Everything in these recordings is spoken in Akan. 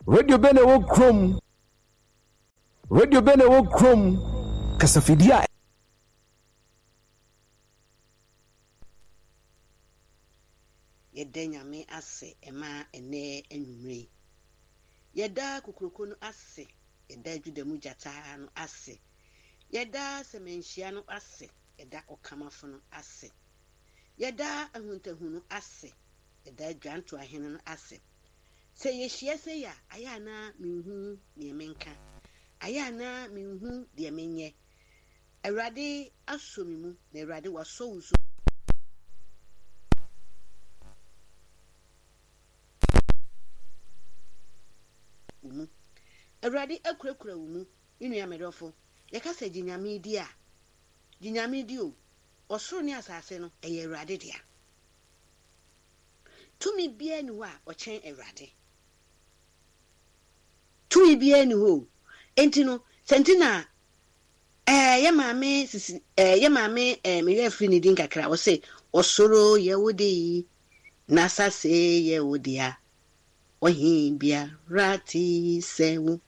Radio bɛn na ɛwɔ kurom? Radio bɛn na ɛwɔ kurom? Kasafidie a. Yɛda Nyame ase ma ɛnnɛ anwumerɛ yi. Yɛda Kokroko no ase, yɛda Juda mu gyata no ase, yɛda Sɛmɛnhyia no ase, yɛda Ɔkamafo no ase, yɛda Ahuntahu no ase, yɛda Dwantoahene no ase. Sɛ yɛhyia sei a, ayɛ a na menhu deɛ menka, ayɛ a na menhu deɛ menyɛ. Awurade asɔ me mu, na Awurade wasɔ wo nso wo mu. Awurade akurakura wo mu, me nua me dɔfo. Yɛka sɛ gye Nyame di a, gye Nyame di o. Ɔsoro ne asase no, ɛyɛ Awurade dea. Tumi biara nni hɔ a ɔkyɛn Awurade. Tumi biara nni hɔ o. Enti no, sɛ nti na ɛɛ yɛ maame sisi ɛɛ yɛ maame ɛɛ me werɛ afiri ne din kakra ɔse ɔsoro yɛ wo de yi na asase yɛ wo dea ɔhe biara te sɛ wo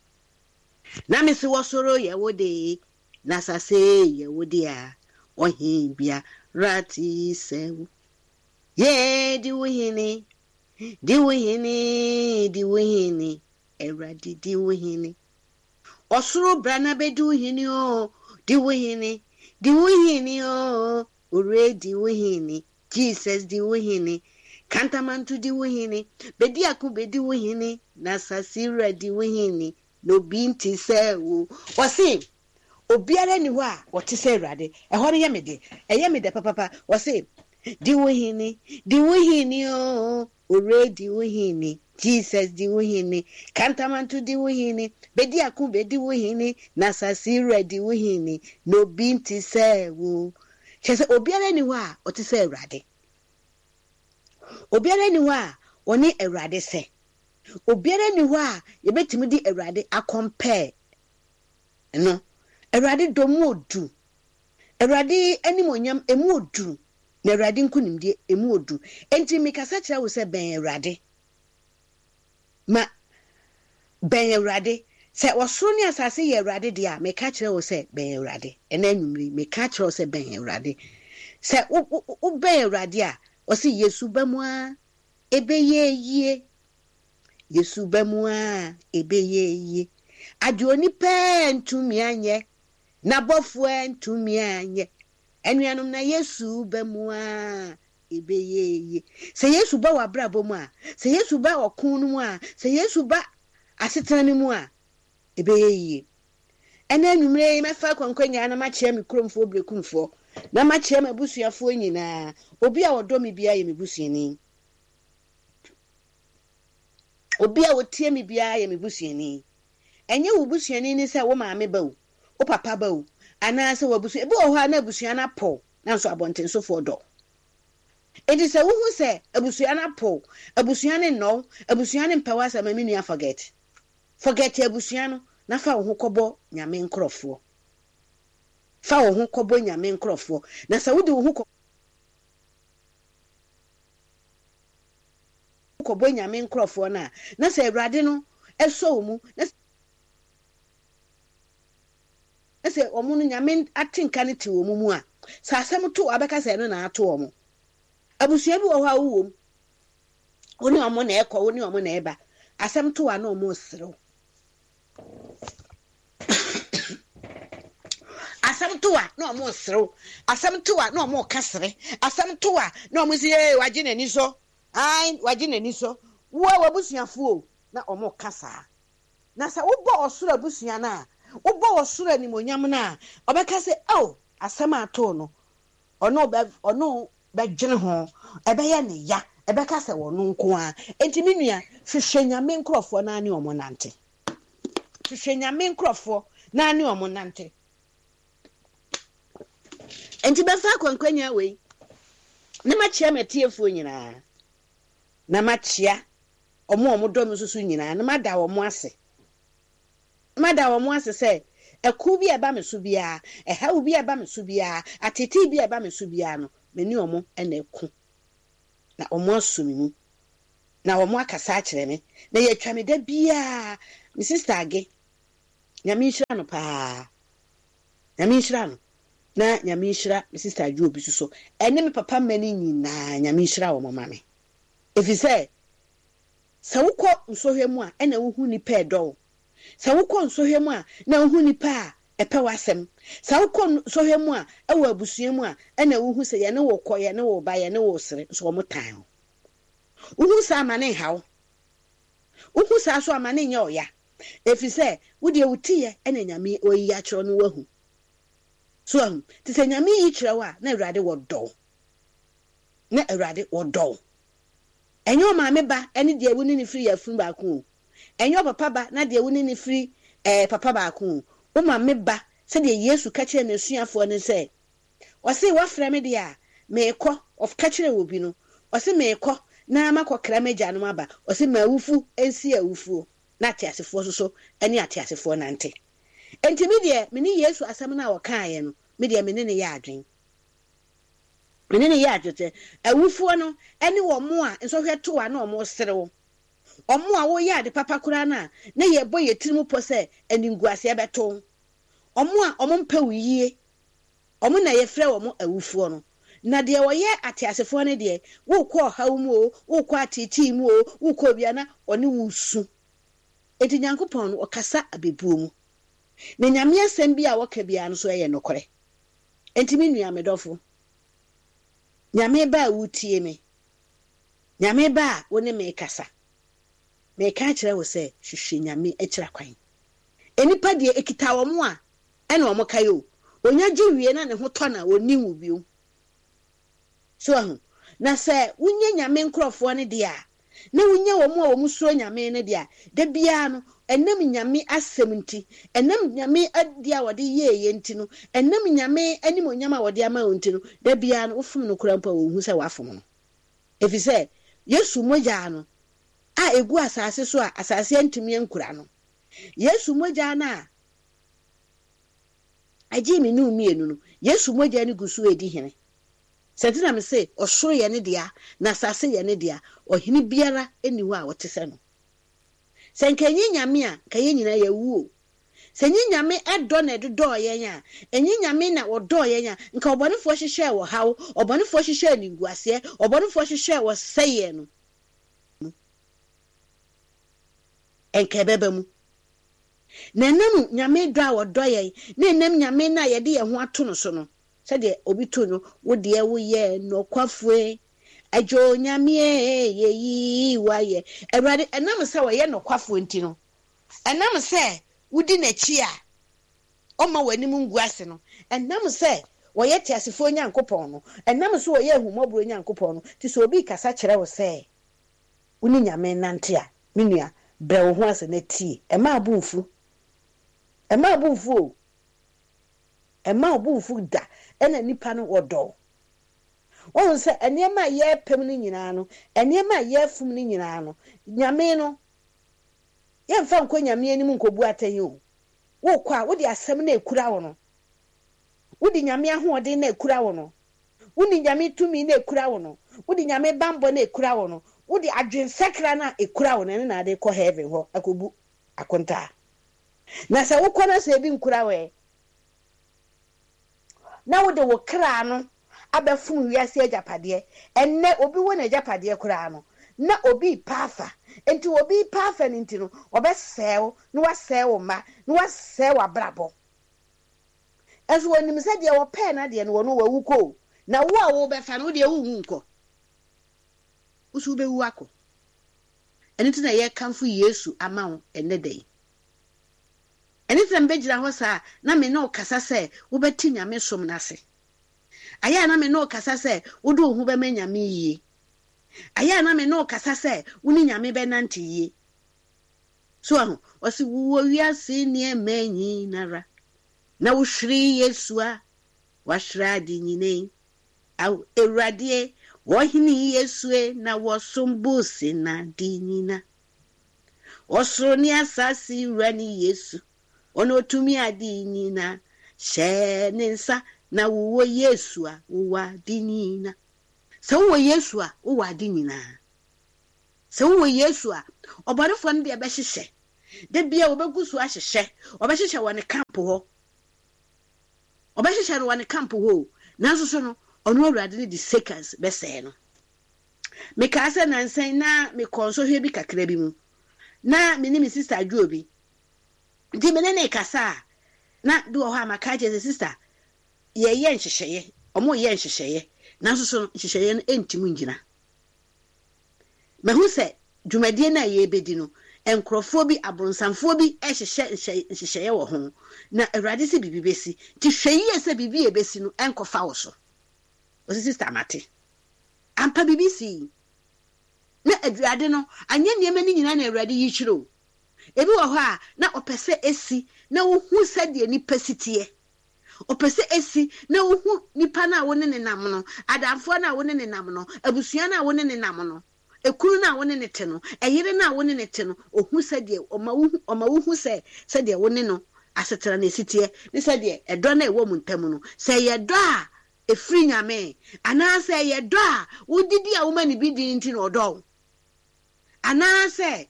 na me se ɔsoro yɛ wo de na asase yɛ wo dea ɔhe biara te sɛ wo Yee, di wo hene, di wo hene, di wo hene, Awurade di wo hene. Ɔsoro bra na bɛdi wo hene o, di wo hene, di wo hene o, Owura di wo hene, Jesus di wo hene, Kantamanto di wo hene, Bedi ako bɛdi wo hene, na asase wura di wo hene, na obi nte sɛ wo. Ɔse, Obiara nni hɔ a ɔte sɛ Awurade. Ɛhɔ no yɛ me de. Ɛyɛ me dɛ papapa. Ɔse, Di wo hene, di wo hene oo, Owura di wo hene, Jesus di wo hene, Kantamanto di wo hene, Bediako bedi wo hene, na asase wura di wo hene, na obi nte sɛ wo. Kyerɛ sɛ obiara nni hɔ a ɔte sɛ Awurade. Obiara nni hɔ a ɔne Awurade sɛ. Obiara nni hɔ a yɛbɛtumi de Awurade akɔmpɛɛ no. Awurade dɔ mu odu. Awurade animuonyam emu odu. Na Awurade nkonimdie emu odu. Enti mekasa kyerɛ wo sɛ bɛn Awurade. Ma bɛn Awurade. Sɛ ɔsoro ne asase yɛ Awurade deɛ a, meka kyerɛ wo sɛ bɛn Awurade. Ɛnɛ anwummere yi, meka kyerɛ wo sɛ bɛn Awurade. Sɛ wobɛn Awurade a, ɔse Yesu ba mu a, ɛbɛyɛ yie. Yesu ba mu a, ɛbɛyɛ yie. Adeɛ onipa antumi anyɛ, n'abɔfoɔ antumi anyɛ. Anuanom, na Yesu ba mu a, ɛbɛyɛ yie. Sɛ Yesu ba w'abrabɔ mu a, sɛ Yesu ba ɔko no mu a, sɛ Yesu ba asetena no mu a, ɛbɛyɛ yie. Ɛnɛ anwummerɛ yi, mɛfa akwankwanya na makyea me kuromfoɔ Berekumfoɔ, na makyea m'abusuafoɔ nyinaa. Obi a ɔdɔ me biara yɛ me busuani. Obi a ɔtie me biara yɛ me busuani. Ɛnyɛ wo busuani ne sɛ wo maame ba o, wo papa ba o, anaasɛ w'abusua. Ebi wɔ hɔ a na abusua no apow, nanso abɔntensofoɔ dɔ wo. Enti sɛ wohu sɛ abusua no apow, abusua no nnɔ wo, abusua no mpɛ w'asɛm a, me nua forget. Forget abusua no na fa wo ho kɔbɔ Nyame nkorɔfoɔ. Fa wo ho kɔbɔ Nyame nkorɔfoɔ. Na sɛ wode wo ho kɔ. Kɔbɔ Nyame nkorɔfoɔ no a, na sɛ Awurade no sɔ wo mu, na sɛ wɔn no Nyame atenka no te wɔn mu a, sɛ asɛm to wo a, wobɛka sɛ ɛno na ato wɔn. Abusua bi wɔ hɔ a wowɔ mu, wo ne wɔn na ɛkɔ, wo ne wɔn na ɛba. Asɛm to wo a na wɔn reserew. Asɛm to a na wɔn reserew. Asɛm to a na wɔn reka sere. Asɛm to a na wɔn si ee wagye n'ani so. Ae wagye n'ani so. Wo a w'abusuafo o na wɔn reka saa. Na sɛ wobɔ ɔsoro abusua no a, wobɔ ɔsoro animuonyam no a, ɔbɛka sɛ oh asɛm a atoo no ɔne wo bɛ ɔne wo bɛdwene ho, ɛbɛyɛ no ya, ɛbɛka sɛ ɔno nko ara. Enti me nua, hwehwɛ Nyame nkorɔfoɔ na ne wɔn nante. Hwehwɛ Nyame nkorɔfoɔ na ne wɔn nante. Enti bɛfa akwankwanya wei na makyia m'atiefoɔ nyinaa, na makyia wɔn a wɔdɔ me nso so nyinaa, na mada wɔn ase. Na mada wɔn ase sɛ ɛko bi a ɛba me so biara, ɛhaw bi a ɛba me so biara, ateetee bi a ɛba me so biara no, me ne wɔn na ɛko, na wɔn aso me mu. Na wɔn akasa akyerɛ me. Na yɛtwa me da biara. Me sister Age, Nyame nhyira no paa. Nyame nhyira no. Na Nyame nhyira me sister Adwo Obi so. Ɛne me papa mma no nyinaa, Nyame nhyira wɔn ma me. Ɛfiri sɛ, sɛ wokɔ nsɔhwɛ mu a, ɛna wohu nnipa a ɛdɔ wo. Sɛ wokɔ nsɔhwɛ mu a, na wohu nnipa a ɛpɛ w'asɛm. Sɛ wokɔ nsɔhwɛ mu a, ɛwɔ abusua mu a, ɛna wohu sɛ yɛne wo kɔ, yɛne wo ba, yɛne wo sere, nso wɔn tan wo. Wohu saa a, ma no nha wo. Wohu saa nso a, ma no nyɛ ɔya. Ɛfiri sɛ, wo deɛ wo tiyɛ na Nyame wayi akyerɛ wo no woahu. So wahu? Nti sɛ Nyame yi kyerɛ wo a, na Awurade wɔdɔ wo. Na Awurade wɔdɔ wo. Ɛnyɛ ɔmaame ba ne deɛ wo ne no firi yafunu baako o. Ɛnyɛ ɔpapa ba na deɛ wo ne no firi ɛɛ papa baako o. Wo maame ba, sɛdeɛ Yesu ka kyerɛɛ n'asuafoɔ no sɛ, ɔse woafrɛ me deɛ a, meekɔ, ɔka kyerɛɛ obi no, ɔse meekɔ na makɔkra m'agyanom aba, ɔse ma awufo nsie awufoɔ na ateasefoɔ nso so ne ateasefoɔ nante. Enti me deɛ, me ne Yesu asɛm no a ɔkaeɛ no, me deɛ me ne no yɛ adwene. Me ne no yɛ adwene sɛ, awufoɔ no ne wɔn a nsɔhwɛ to a na wɔresere wo, wɔn a woyɛ ade papa koraa no a na yɛbɔ yɛn tirim pɔ sɛ animguaseɛ bɛto wo, wɔn a wɔmpɛ wo yie, wɔn na yɛfrɛ wɔn awufoɔ no. Na deɛ ɔyɛ ateasefoɔ no deɛ, worekɔ ɔhaw mu oo, worekɔ ateetee mu oo, worekɔ obiara na ɔne wo resu. Enti Nyankopɔn no, ɔkasa abɛbuo mu. Na Nyame asɛm biara a ɔka biara no nso yɛ nokorɛ. Enti me nua, me dɔfo, Nyame ba a woretie me, Nyame ba a wo ne me rekasa, mereka akyerɛ wo sɛ, hwehwɛ Nyame akyira kwan. Nnipa deɛ, ɛkita wɔn a, ɛna wɔn kae o. Onya gye wie na ne ho tɔ no a, ɔnni wo bio. So wahu? Na sɛ wonya Nyame nkorɔfoɔ no deɛ a, na wonya wɔn a wɔn suro Nyame no deɛ a, da biara no, ɛnam Nyame asɛm nti, ɛnam Nyame adeɛ a wɔde yɛeɛ nti no, ɛnam Nyame animuonyam a wɔde ama wo nti no, da biara no, wofom no koraa mpo a, wɔnhu sɛ woafom no. Ɛfiri sɛ, Yesu mogyaa no a ɛgu asase so a asase antumi ankura no, Yesu mogyaa no a ɛgyee me ne wo mmienu no, Yesu mogya no gu so redi hene. Sɛ nti na mese, ɔsoro yɛ ne dea, na asase yɛ ne dea, ɔhene biara nni hɔ a ɔte sɛ no. Sɛ nka ɛnyɛ Nyame a, nka yɛn nyinaa yɛawu o. Sɛ ɛnyɛ Nyame dɔ na ɛde dɔɔ yɛn a, ɛnyɛ Nyame na ɔdɔɔ yɛn a, nka ɔbɔnefoɔ hyehyɛɛ ɔhaw, ɔbɔnefoɔ hyehyɛɛ animguaseɛ, ɔbɔnefoɔ hyehyɛɛ ɔsɛeɛ no, nka ɛbɛba mu. Na ɛnam Nyame dɔ a ɔdɔ yɛn, na ɛnam Nyame no a yɛde yɛn ho ato no so no, sɛdeɛ obi to no, wo deɛ woyɛ nɔkwafoe, Agya Onyame e, yɛyi wo ayɛ. Awurade, ɛnam sɛ ɔyɛ nɔkwafoɔ nti no, ɛnam sɛ wodi n'akyi a ɔmma w'anim ngu ase no, ɛnam sɛ ɔyɛ teasefoɔ Nyankopɔn no, ɛnam sɛ ɔyɛ ahummɔborɔ Nyankopɔn no, nti sɛ obi rekasa kyerɛ wo sɛ wo ne Nyame nnante a, me nua, brɛ wo ho ase na tie. Mma wo bo mmfu. Mma wo bo mmfu o. Mma wo bo mmfu da. Ɛna nnipa no, wɔdɔ wo. Woahu sɛ nneɛma a yɛrepem no nyinaa no, nneɛma a yɛrefom no nyinaa no, Nyame no, yɛmfa nkɔ Nyame anim nkɔbu atɛn o. Wokɔ a, wode asɛm no a ɛkura wo no, wode Nyame ahoɔden no a ɛkura wo no, wode Nyame tumi no a ɛkura wo no, wode Nyame banbɔ no a ɛkura wo no, wode adwensakra no a ɛkura wo no, ɛno na wode kɔ heaven hɔ akɔbu akontaa. Na sɛ wokɔ na sɛ ebi nkura wo ɛ? Na wode wo kra no abɛfom wiase agyapadeɛ. Ɛnnɛ obi wɔ n'agyapadeɛ koraa no, na obi repɛ afa. Enti obi repɛ afa no nti no, ɔbɛsɛe wo, na wasɛe wo mma, na wasɛe w'abrabɔ. Nso wɔnim sɛ deɛ wɔpɛɛ n'adeɛ no, ɔno wawu kɔ o. Na wo a worebɛfa no, wo deɛ wonwu nkɔ. Wo nso wobɛwu akɔ. Ɛno nti na yɛrekamfo Yesu ama wo ɛnnɛ da yi. Ɛno nti na mebɛgyina hɔ saa a na me ne wo kasa sɛ wobɛte Nyame som no ase. Ayɛ a na me ne wo kasa sɛ wode wo ho bɛma Nyame yie. Ayɛ a na me ne wo kasa sɛ wo ne Nyame bɛnante yie. So wahu? Ɔse wowɔ wiase nneɛma nyinara na wohwere Yesu a, wahwere ade nyina yi. Ao Awurade e, Ɔhene Yesu e, na wɔsom bo sen ade nyina. Ɔsoro ne asase Wura ne Yesu, Ɔno otumi ade nyina. Hyɛ ne nsa na wowɔ Yesu a, wowɔ ade nyina. Sɛ wowɔ Yesu a, wowɔ ade nyinaa. Sɛ wowɔ Yesu a, ɔbɔnefoɔ no deɛ bɛhyehyɛ. Da biara wɔbɛgu so ahyehyɛ. Wɔbɛhyehyɛ wɔ ne camp hɔ. Wɔbɛhyehyɛ no wɔ ne camp hɔ o. Nanso so no, ɔno Awurade no de seconds bɛsɛe no. Mekaa sɛ nansa yi na mekɔɔ nsɔhwɛ bi kakra bi mu. Na me ne me sista adwo obi. Nti me ne no rekasa a, na bi wɔ hɔ a maka akyerɛ sɛ, sista, yɛreyɛ nhyehyɛeɛ, wɔreyɛ nhyehyɛeɛ, nanso so no nhyehyɛeɛ no ntim ngyina. Mahu sɛ dwumadie no a yɛrebɛdi no, nkorɔfoɔ bi, abonsamfoɔ bi rehyehyɛ nhyehyɛeɛ wɔ ho, na Awurade se biribi bɛsi. Nti hwɛ yie sɛ biribi a ɛbɛsi no nkɔfa wo so. Ɔse, Sista, mate. Ampa biribi sii. Na Awurade no, anyɛ nneɛma no nyinaa na Awurade yi kyerɛ o. Ebi wɔ hɔ a, na ɔpɛ sɛ esi na wohu sɛdeɛ nipa si teɛ. Ɔpɛ sɛ esi na wohu nipa no a wo ne no nam no, adamfoɔ no a wo ne no nam no, abusua no a wo ne no nam no, ekunu no a wo ne no te no, ɛyere no a wo ne no te no, ohu sɛdeɛ, ɔma wohu, ɔma wohu sɛ sɛdeɛ wo ne no asetena no esi teɛ, ne sɛdeɛ ɛdɔ no a ɛwɔ mo ntam no, sɛ ɛyɛ dɔ a ɛfiri Nyame, anaasɛ ɛyɛ dɔ a wodidi a woma no bi di nti na ɔdɔ wo, anaasɛ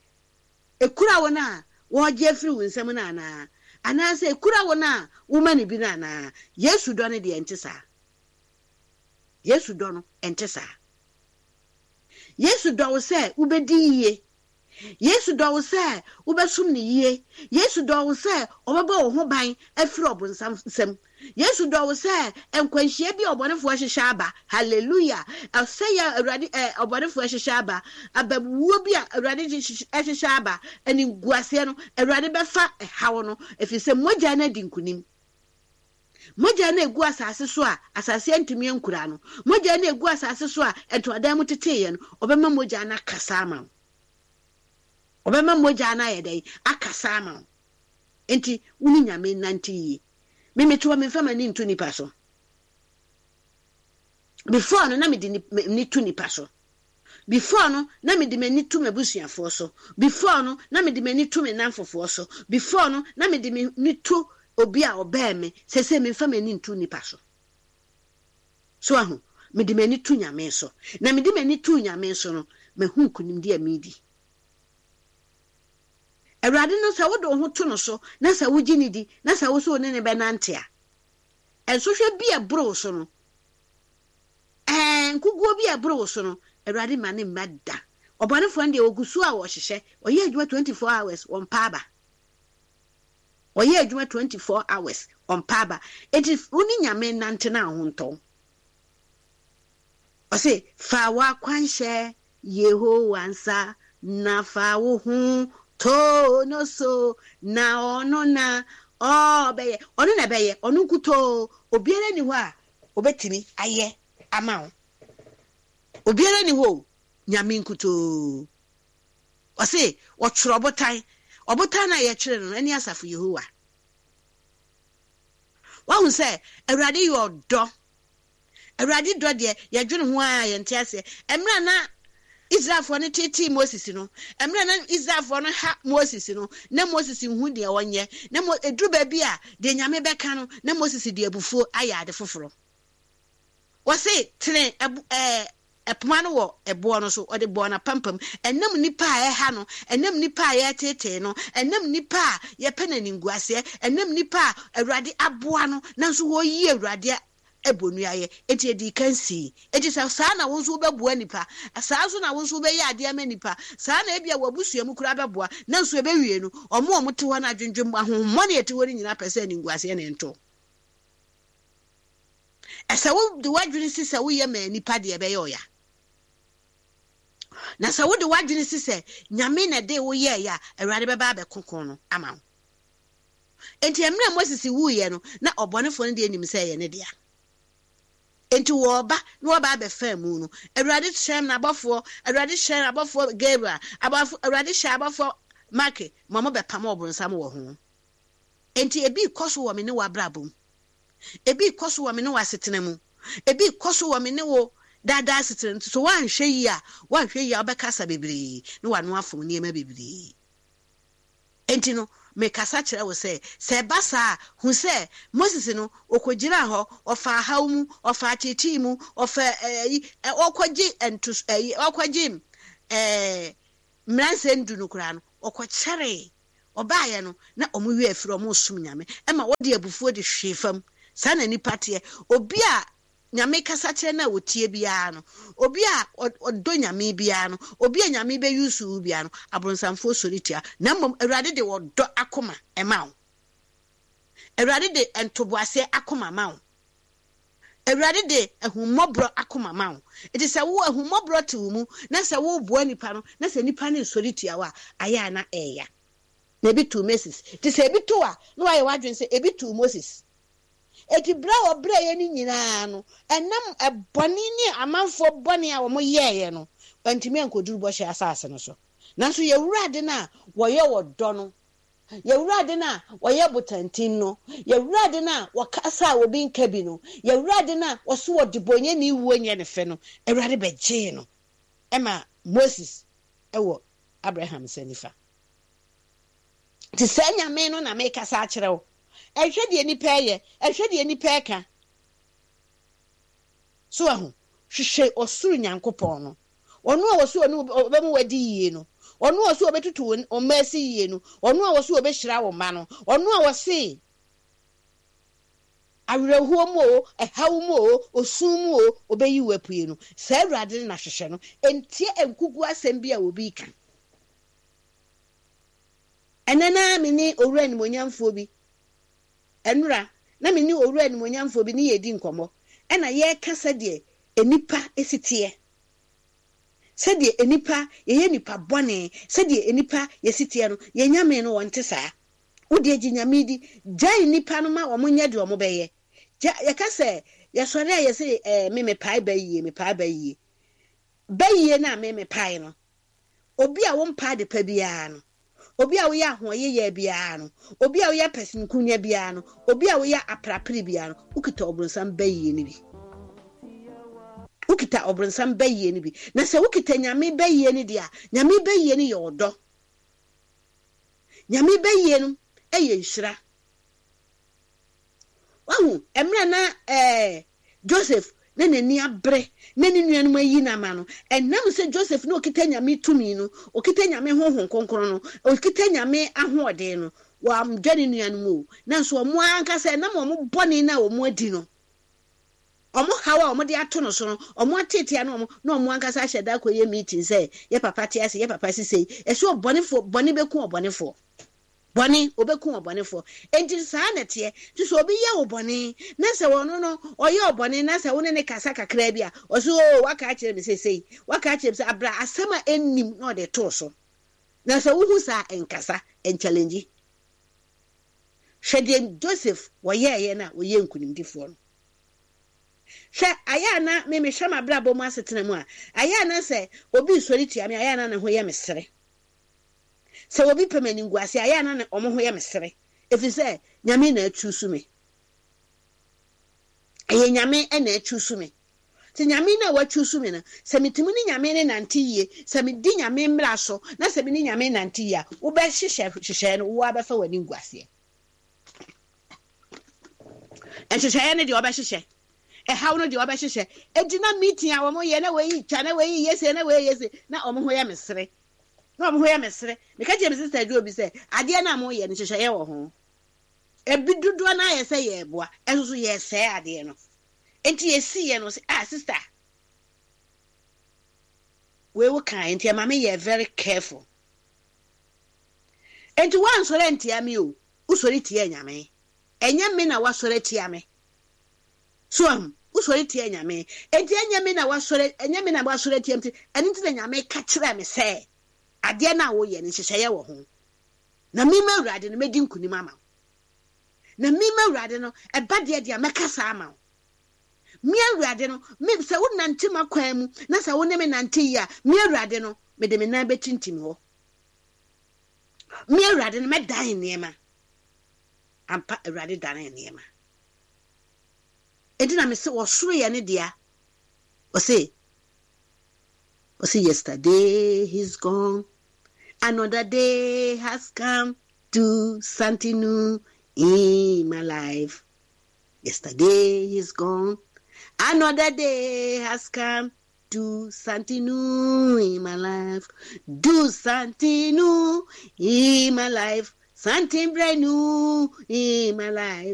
ɛkura wo no a wɔregye afiri wo nsam no anaa, anaasɛ ɛkura wo no a woma no bi no anaa. Yesu dɔ no deɛ ɛnte saa. Yesu dɔ no ɛnte saa. Yesu dɔ wo sɛ wobɛdi yie. Yesu dɔ wo sɛ wobɛsom no yie. Yesu dɔ wo sɛ ɔbɛbɔ wo ho ban afiri ɔbonsam nsam. Yesu dɔ wo sɛ nkwanhyia bi a ɔbɔnefoɔ ahyehyɛ aba. Hallelujah! Ɔsɛeɛ a Awurade ɛ ɔbɔnefoɔ ahyehyɛ aba, abawuo bi a Awurade ahyehyɛ aba, animguaseɛ no, Awurade bɛfa ɛhaw no, ɛfiri sɛ mogya no adi nkonim. Mogya no a ɛgu asase so a asase antumi ankura no, mogya no a ɛgu asase so a ntoadan mu teteeɛ no, ɔbɛma mogya no akasa ama wo. Ɔbɛma mogya no ayɛ dɛn? Akasa ama wo. Enti wo ne Nyame nnante yie. Me mete hɔ memfa m'ani nto nipa so. Before no na mede m'ani to nipa so. Before no na mede m'ani to m'abusuafoɔ so. Before no na mede m'ani to me nnamfofoɔ so. Before no na mede m'ani to obi a ɔbɛn me. Seesei memfa m'ani nto nipa so. So ahu? Mede m'ani to Nyame so. Na mede m'ani too Nyame so no, mahu nkunimdie a meredi. Awurade no, sɛ wode wo ho to no so na sɛ wogye no di na sɛ wo so wo ne no bɛnante a, nsɔhwɛ bi a ɛboro wo so no, Ɛɛ, nkoguo bi a ɛboro wo so no, Awurade mma no mma da. Ɔbɔnefoɔ no deɛ, ɔgu so a ɔhyehyɛ. Ɔyɛ adwuma 24 hours, ɔmpa aba. Ɔyɛ adwuma 24 hours, ɔmpa aba. Enti wo ne Nyame nnante na wo ho ntɔ wo. Ɔse, fa w'akwanhyɛ Yehowa nsa, na fa wo ho to no so, na ɔno na ɔbɛyɛ. Ɔno na ɛbɛyɛ, ɔno nkutoo. Obiara nni hɔ a Obetumi ayɛ ama wo. Obiara nni hɔ o, Nyame nkutoo. Ɔse ɔtwerɛ ɔbotan. Ɔbotan no a yɛtwerɛ no no, ɛne asafo Yehowa. Wahu sɛ Awurade yɛ ɔdɔ. Awurade dɔ deɛ, yɛdwene ho ara a yɛnte aseɛ. Mmerɛ a na Israelfoɔ no teetee Moses no, mmerɛ a na Israelfoɔ no ha Moses no, na Moses nhu deɛ ɔnyɛ. Na Mo, ɛduru baabi a, deɛ Nyame bɛka no, na Moses de abufuo ayɛ ade foforɔ. Wɔse, tene ɛbo, ɛɛ, ɛpoma no wɔ ɛboɔ no so, ɔde bɔɔ n'apampam. Ɛnam nnipa a ɛha no, ɛnam nnipa a yɛreteetee no, ɛnam nnipa a yɛpɛ no animguaseɛ, ɛnam nnipa a Awurade aboa no, nanso wɔreyi Awurade bɔ nnua yɛ. Enti edii kan sii. Enti sɛ saa na wo nso wobɛboa nnipa, saa nso na wo nso wobɛyɛ adeɛ ama nnipa, saa na ebia w'abusua mu koraa bɛboa, nanso ɛbɛwie no, wɔn a wɔte hɔ no adwendwen ahonhommɔne a ɛte hɔ no nyinaa pɛ sɛ animguaseɛ na ɛnto wo. Ɛsɛ wode w'adwene si sɛ woyɛ ma nnipa deɛ ɛbɛyɛ ɔya. Na sɛ wode w'adwene si sɛ Nyame na ɛde wo yɛɛyɛ a, Awurade bɛba abɛko ko no ama wo. Enti mmerɛ a Moses wuiɛ no, na ɔbɔnefoɔ no deɛ nim sɛ ɛyɛ ne dea. Enti wɔreba na wɔreba abɛfa amu no, Awurade hyɛn n'abɔfoɔ, Awurade hyɛn abɔfoɔ Gabriel, abɔfo, Awurade hyɛ abɔfoɔ Mike ma wɔbɛpam ɔbonsam wɔ ho. Enti ebi rekɔ so wɔ me ne wo abrabɔ mu. Ebi rekɔ so wɔ me ne wo asetena mu. Ebi rekɔ so wɔ me ne wo daadaa asetena mu. Nti so woanhwɛ yie a, woanhwɛ yie a wobɛkasa bebree na w'ano afom nneɛma bebree. Enti no, mekasa kyerɛ wo sɛ, sɛ ɛba saa a, hu sɛ, Moses no, ɔkɔgyinaa hɔ, ɔfaa haw mu, ɔfaa ateetee mu, ɔfaa ɛyi, ɔkɔgye ntos, ɛyi, ɔkɔgye ɛɛ. Mmaransɛm Du no koraa no, wɔkɔkyɛree. Wɔbaeɛ no, na wɔn werɛ afiri, wɔresom Nyame. Ɛma wɔde abufuo de hwee fam. Saa na nnipa teɛ. Obi a Nyame kasa kyerɛ no a ɔtie biara no, obi a ɔdɔ Nyame biara no, obi a Nyame bɛ use wo biara no, abronsamfoɔ sɔre tia. Na mmom Awurade de ɔdɔ akoma ma wo. Awurade de ntoboaseɛ akoma ma wo. Awurade de ahummɔborɔ akoma ma wo. Enti sɛ wo ahummɔborɔ te wo mu na sɛ woboa nipa no na sɛ nipa no nsɔre tia wo a, ayɛ a na ɛɛya. Na ebi too Moses. Nti sɛ ebi to wo a, na wayɛ w'adwene sɛ ebi too Moses. Enti berɛ a wɔbrɛeɛ no nyinaa no, ɛnam bɔne ne amanfoɔ bɔne a wɔyɛeɛ no, wɔantumi ankɔduru bɔhyɛ asase no so. Nanso yɛn Awurade no a wɔyɛ ɔdɔ no, Yɛn Awurade no a ɔyɛ botantim no, yɛn Awurade no a ɔkasa a obi nka bi no, yɛn Awurade no a ɔse ɔdebɔnyɛni wuo nyɛ ne fɛ no, Awurade bɛgyee no ma Moses wɔ Abraham nsa nifa. Nti saa Nyame no na mekasa akyerɛ wo. Ɛnhwɛ deɛ nipa ɛyɛ, ɛnhwɛ deɛ nipa ɛka. So wahu? Hwehwɛ ɔsoro Nyankopɔn no. Ɔno a ɔse ɔne wo ɔbɛma wadi yie no, ɔno a ɔse ɔbɛtutu wo mma ase yie no, ɔno a ɔse ɔbɛhyira wo mma no, ɔno a ɔse awerɛhoɔ mu o, ɛhaw mu o, osu mu o, ɔbɛyi wo apue no, saa Awurade no na hwehwɛ no. Ntie nkuguo asɛm bi a obi reka. Ɛnnɛ na me ne owura animuonyamfoɔ bi, ɛnora, na me ne owura animuonyamfoɔ bi ne yɛredi nkɔmmɔ, ɛna yɛreka sɛdeɛ nnipa si teɛ. Sɛdeɛ nnipa, yɛyɛ nnipa bɔne, sɛdeɛ nnipa yɛsi teɛ no, yɛn Nyame no ɔnte saa. Wo deɛ gye Nyame di, gyae nnipa no ma wɔn nyɛ deɛ wɔn bɛyɛ. Gya, yɛka sɛ, yɛsɔre a yɛse ɛɛ me mepae bayie, mepae bayie. Bayie no a me mepae no, obi a wompɛ ade pa biara no, Obi a woyɛ ahoɔyeyɛɛ biara no, obi a woyɛ pɛsɛmenkominya biara no, obi a woyɛ aperapere biara no, wokita ɔbronsam bayie no bi. Wokita ɔbronsam bayie no bi. Na sɛ wokita Nyame bayie no deɛ a, Nyame bayie no yɛ ɔdɔ. Nyame bayie no yɛ nhyira. Wahu, mmerɛ na ɛɛ Joseph na n'ani abere na ne nuanom ayi no ama no, ɛnam sɛ Joseph na ɔkita Nyame tumi no, ɔkita Nyame Honhom Kronkron no, ɔkita Nyame ahoɔden no, wamdwa ne nuanom o, nanso wɔn ankasa ɛnam wɔn bɔne no a wɔn adi no, wɔn haw a wɔde ato no so no, wɔn ateetea no wɔn, na wɔn ankasa ahyɛ da akɔyɛ meeting sɛ, yɛ papa te ase, yɛ papa si sei, ɛsɛ ɔbɔnefoɔ, bɔne bɛku ɔbɔnefoɔ. Bɔne, obeku ɔbɔnefoɔ. Enti saa na ɛteɛ. Nti sɛ obi yɛ wo bɔne, na sɛ ɔno no, ɔyɛ wo bɔne, na sɛ wo ne no kasa kakraa bi a, ɔse, Oo, waka akyerɛ me seesei, waka akyerɛ me sɛ, abra asɛm a ɛnnim na ɔde too so. Na sɛ wohu saa a, nkasa, nkyalengyi. Hwɛ deɛ Joseph wɔyɛeɛ no a ɔyɛɛ nkunimdifoɔ no. Hwɛ, ayɛ a na me mehwɛ m'abrabɔ mu asetena mu a, ayɛ a na sɛ obi resɔre tia me a, ayɛ a na ne ho yɛ me sere. Sɛ obi pɛ m'animguase a, ɛyɛ a na ne wɔn ho yɛ me sere, ɛfiri sɛ Nyame na achuusu me. Ɛyɛ Nyame na achuusu me. Nti Nyame no a wachuusu me no, sɛ metumi ne Nyame no nante yie, sɛ medi Nyame mmara so, na sɛ me ne Nyame nante yie a, wobɛhyehyɛ nhyehyɛeɛ no, wo ara bɛfa w'animguaseɛ. Nhyehyɛeɛ no deɛ wɔbɛhyehyɛ, ɛhaw no deɛ wɔbɛhyehyɛ. Enti na meeting a wɔyɛ, na wei twa, na wei yɛ sei, na wei yɛ sei, na wɔn ho yɛ me sere. Na wɔn ho yɛ me sere. Meka kyerɛɛ me sista Joe bi sɛ, adeɛ no a moyɛ no, nhyehyɛeɛ wɔ ho. Ebi dodoɔ no ara yɛ sɛ yɛreboa, ɛnso so yɛresɛe adeɛ no. Enti yɛsiiɛ no, ɔse, ah sista, wei wo kaeɛ nti ɛma me yɛɛ very careful. Enti woansɔre antia me o, wosɔre tiaa Nyame. Ɛnyɛ me na woasɔre atia me. So ahu? Wosɔre tia Nyame. Enti ɛnyɛ me na woasɔre, ɛnyɛ me na woasɔre atia me nti, ɛno nti na Nyame ka kyerɛɛ me sɛ, adeɛ no a woyɛ no, nhyehyɛeɛ wɔ ho. Na me m'Awurade no, mɛdi nkonim ama wo. Na me m'Awurade no, ɛba deɛ deɛ a, mɛkasa ama wo. Me Awurade no, me, sɛ wonante m'akwan mu, na sɛ wo ne me nante yie a, me Awurade no, mede me nan bɛtintim hɔ. Me Awurade no, mɛdan nneɛma. Ampa, Awurade danee nneɛma. Enti na mese ɔsoro yɛ ne dea. Ɔse, ɔse yesterday he's gone, another day has come to something new in my life. Yesterday he's gone, another day has come. Do something new in my life. Do something new in my life. Something brand new in my life.